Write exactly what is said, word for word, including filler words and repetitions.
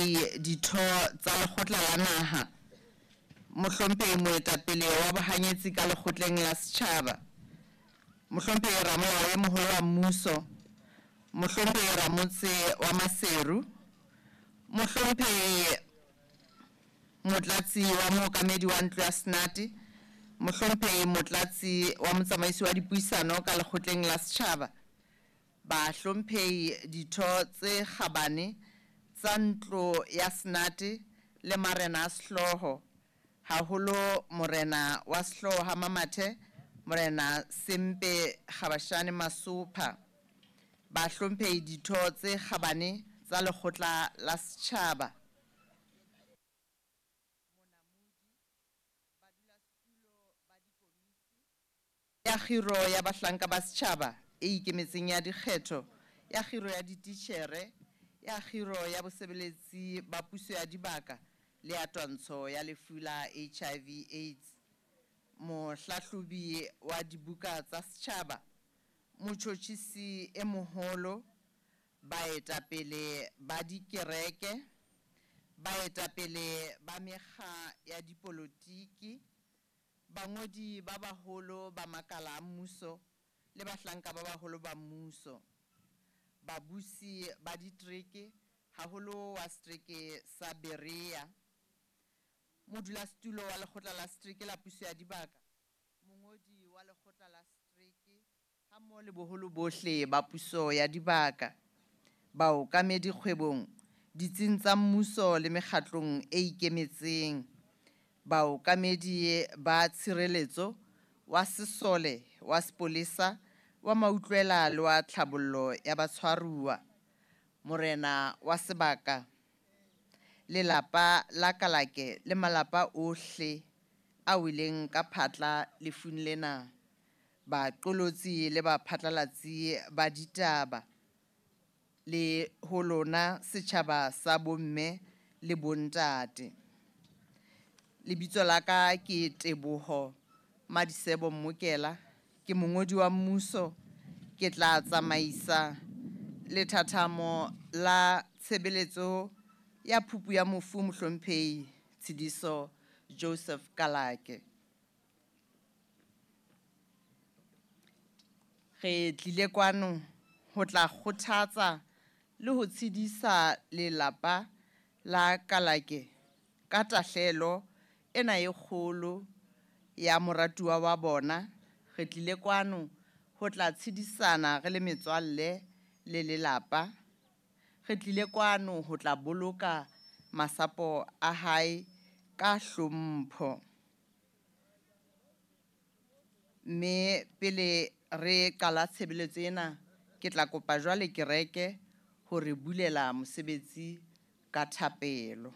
Bahlomphehi ditho tsa lekgotla la naha, mohlomphehi moetapele wa bohanyetsi ka lekgotleng la setjhaba, mohlomphehi ramolao e moholo wa mmuso, mohlomphehi ramotse wa Maseru, mohlomphehi motlatsi wa mookamedi wa ntlo ya Senate, mohlomphehi motlatsi wa motsamaisi wa dipuisano ka lekgotleng la setjhaba, bahlomphehi ditho tse kgabane tsa ntlo ya Senate le marena a sehlooho, haholo morena wa sehlooho ha Mamathe, morena Sempe Kgabashane Masopha, bahlomphehi ditho tse kgabane tsa lekgotla la setjhaba, monamodi, badulasetulo ba dikomiti ya kgiro ya bahlanka ba setjhaba e ikemetseng ya dikgetho, ya kgiro ya dititjhere, ya kgiro ya bosebeletsi ba puso ya dibaka le ya twantsho ya lefu la H I V AIDS, mohlahlobi wa dibuka tsa setjhaba, motjhotjhisi e moholo, baetapele ba dikereke, baetapele ba mekga ya dipolotiki, bangodi ba baholo ba makala a mmuso le bahlanka ba baholo ba mmuso, babusi ba ditereke, haholo wa setereke sa Berea, modulasetulo wa lekgotla la setereke la puso ya dibaka, mongodi wa lekgotla la setereke hammoho le boholo bohle ba puso ya dibaka, baokamedi kgwebong, ditsing tsa mmuso le mekgatlong e ikemetseng, baokamedi ba tshireletso, wa sesole, wa sepolesa, wa mautlwela le wa tlhabollo ya batshwaruwa, morena wa sebaka, lelapa la Kalake le malapa ohle a weleng ka phatla lefung lena, baqolotsi le baphatlalatsi ba ditaba, le ho lona setjhaba sa bomme le bontate. Lebitso la ka ke Teboho Madisebo Mmokela, ke mongodi wa mmuso, ke tla tsamaisa lethathamo la tshebeletso ya phupu ya mofu mohlomphehi Tshidiso Joseph Kalake. Re tlile kwano ho tla kgothatsa le ho tshedisa lelapa la Kalake ka tahlehelo ena e kgolo ya moratuwa wa bona. Re tlile kwano ho tla tshedisana re le metswalle le lelapa. Re tlile kwano ho tla boloka masapo a hae ka hlompho. Mme pele re qala tshebeletso ena, ke tla kopa jwale kereke hore bulela mosebetsi ka thapelo.